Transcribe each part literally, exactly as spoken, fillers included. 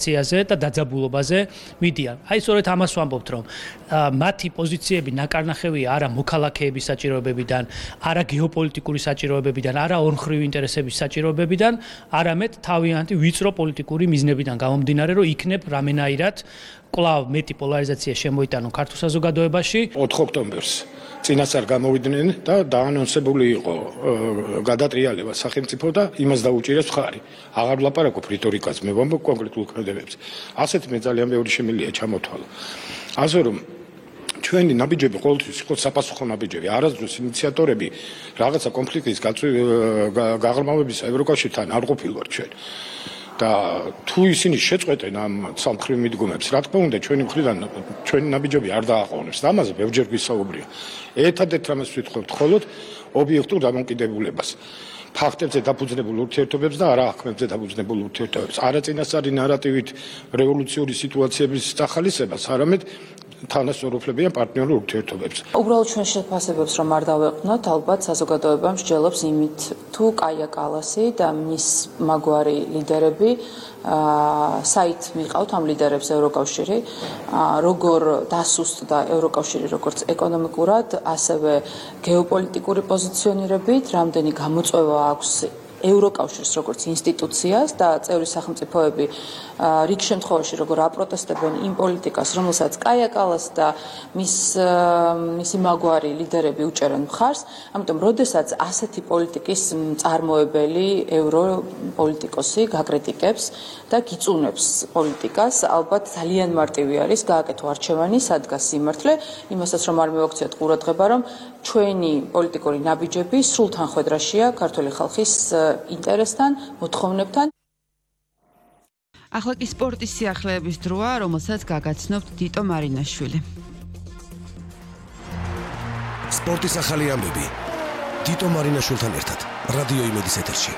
ციაზე და დაძაბულობაზე მიდიან. აი სწორედ ამას ვამბობთ, რომ მათი პოზიციები ნაკარნახევია არა მოქალაქეების საჭიროებებიდან, არა გეოპოლიტიკური საჭიროებებიდან, არა ორმხრივი ინტერესების საჭიროებებიდან, არამედ თავიანთი ვიწრო პოლიტიკური მიზნებიდან გამომდინარე, რომ იქნებ რამენაირად კვლავ მეტი პოლარიზაცია შემოიტანონ ქართულ საზოგადოებაში. ოთხ ოქტომბერს წინასწარ გამოვიდნენ და დაანონსებული იყო გადატრიალება სახელმწიფო და იმას დაუჭირეს მხარი. აღარ ვლაპარაკობ რიტორიკაზე, მე ვამბობ კონკრეტულ ქმედებებზე. ასეთ მე ძალიან ბევრი შემიძლია ჩამოთვალო. ასე რომ ჩვენი ნაბიჯები ყოველთვის იყო საპასუხო ნაბიჯები. არასდროს ინიციატორები რაღაცა კონფლიქტის გაღრმავებისა ევროკავშირთან არ ყოფილვართ ჩვენ. და თუ ისინი შეწყვეტენ ამ სამხრივ მიდგომებს, რა თქმა უნდა, ჩვენი მხრიდან ჩვენი ნაბიჯები არ დააყოვნებს და ამაზე ბევრჯერ გვისაუბრია. ერთადერთ რამეს ვიტყვევთ მხოლოდ ობიექტურ დამოკიდებულებას. ფაქტებზე დაფუძნებულ ურთიერთობებს და არა აღქმებზე დაფუძნებულ ურთიერთობებს. არა წინასწარი ნარატივით რევოლუციური სიტუაციების სახალისებას, არამედ თანასწორუფლებიან პარტნიორულ ურთიერთობებს. უბრალოდ ჩვენ შეფასებებს რომ არ დავეყვნოთ, ალბათ საზოგადოება მსჯელობს იმით, თუ კაია კალასი და მის მაგვარი ლიდერები საით მიყავთ ამ ლიდერებს ევროკავშირი, როგორ დასუსტდა ევროკავშირი როგორც ეკონომიკურად, ასევე გეოპოლიტიკური პოზიციონირებით, რამდენი გამოწვევა აქვს ევროკავშირს როგორც ინსტიტუციას და წევრი სახელმწიფოები რიგ შემთხვევაში როგორ აპროტესტებენ იმ პოლიტიკას, რომელსაც კაია კალასი და მის მისი მაგვარი ლიდერები უჭერენ მხარს, ამიტომ როდესაც ასეთი პოლიტიკის მწარმოებელი ევროპოლიტიკოსი გაკრიტიკებს და გიწუნებს პოლიტიკას, ალბათ ძალიან მარტივი არის გააკეთო არჩევანი, სადგას სიმართლე, იმასაც რომ არ მივაქციოთ ყურადღება, რომ ჩვენი პოლიტიკური ნაბიჯები სრულ თანხვედრაშია ქართული ხალხის ინტერესთან, მოთხოვნებთან. ახლა კი სპორტის სიახლეების დროა, რომელსაც გაგაცნობთ დიტო მარინაშვილი. სპორტის ახალი ამბები. დიტო მარინაშვილთან ერთად, რადიო იმედის ეთერში.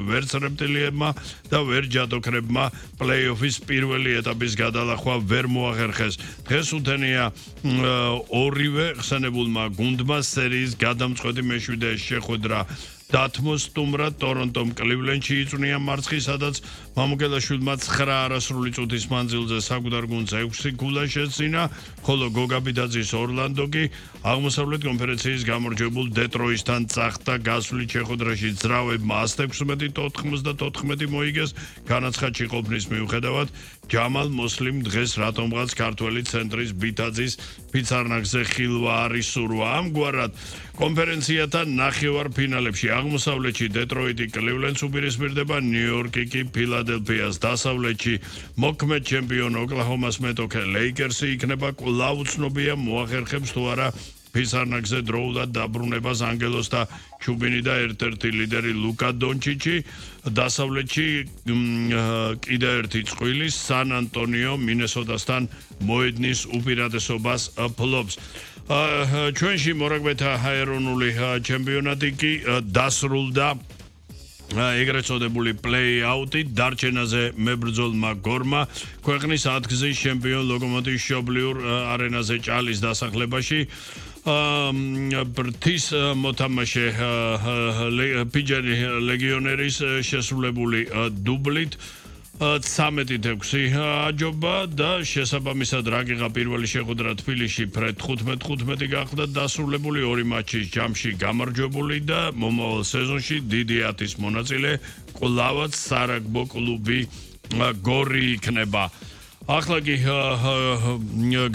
ვერც რეპტილიებმა და ვერ ჯადოქრებმა პლეი-ოფის პირველი ეტაპის გადალახვა ვერ მოახერხეს. დღეს უთენია ორივე ხსენებულმა გუნდმა სერიის გადამწყვეტი მეშვიდე შეხვედრა დათმო სტუმრად ტორონტომ კლივლენდში იწვნია მარცხი, სადაც მამუკელაშვილმა ცხრა არასრული წუთის მანძილზე საკვდარ გუნდს ექვსი ქულა შეძინა, ხოლო გოგაბიდაძის ორლანდო კი აღმოსავლეთ კონფერენციის გამარჯვებულ დეტროიტთან წახდა. გასვლით შეხვედრაში ძრავებმა ათს ექვსმეტი თხმოცდათოთხმეტი მოიგეს. განაცხადში ყოფნის მიუხედავად ჯამალ მოსლიმ დღეს რატომღაც ქართველი ცენტრის ბითაძის ფიცარნაკზე ხილვა არის სურვა. ამგვარად კონფერენციათან ნახევარფინალებში აღმოსავლეთში დეტროიტი კლივლენდს უპირისპირდება, ნიუ-იორკი კი ფილადელფიას, დასავლეთში მოქმედ ჩემპიონ ოკლაჰომას მეტოქე ლეიკერსი იქნება. კვლავ უცნობია მოახერხებს თუ არა ფიცარნაკზე დროულად დაბრუნებას ანგელოს და ჩუბინი და ერთ-ერთი ლიდერი ლუკა დონჩიჩი. დასავლეთში კიდევ ერთი წყვილი სან ანტონიო მინესოტასთან მოედნის უპირატესობას ფლობს. ჩვენში მორაგბეთა ეროვნული ჩემპიონატი კი დასრულდა ეგრეთ წოდებული პლეი-აუტი დარჩენაზე მებრძოლმა გორმა ქვეყნის ათგზის ჩემპიონ ლოკომოტივის მშობლიურ არენაზე ჭალის დასახლებაში ბრთის მოთამაშე პიჯანი ლეგიონერის შესრულებული დუბლით ცამეტით ექვსი აჯობა და შესაბამისად რაგიღა პირველი შეხვედრა თბილისში ფრედ თხუთმეტ თხუთმეტი გახდა დასრულებული. ორი მატჩის ჯამში გამარჯვებული და მომავალ სეზონში დიდი ათის მონაწილე კვლავაც სარაგბო კლუბი გორი იქნება. ახლა კი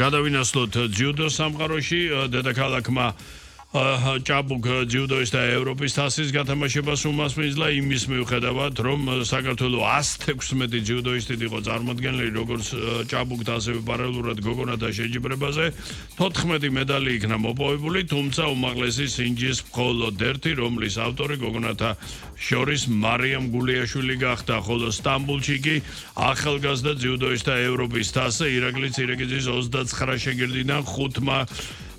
გადავინაცვლოთ ძიუდო სამყაროში. დედაქალაქმა ჭაბუკ ძიუდოისტთა ევროპის თასის გათამაშებას უმასპინძლა იმის მიუხედავად, რომ საქართველოს ათს ექვსმეტი ძიუდოისტით იყო წარმოდგენილი როგორც ჭაბუკთ, ასევე პარალელურად გოგონათა შეჯიბრებაზე. თოთხმეტი მედალი იქნა მოპოვებული, თუმცა უმაღლესი სინჯის მხოლოდ ერთი, რომლის ავტორი გოგონათა შორის მარიამ გულიაშვილი გახდა, ხოლო სტამბულში კი ახალგაზრდა ძიუდოისტთა ევროპის თასზე ირაკლი ცირეკიძის ოცდაცხრა შეგირდიდან ხუთმა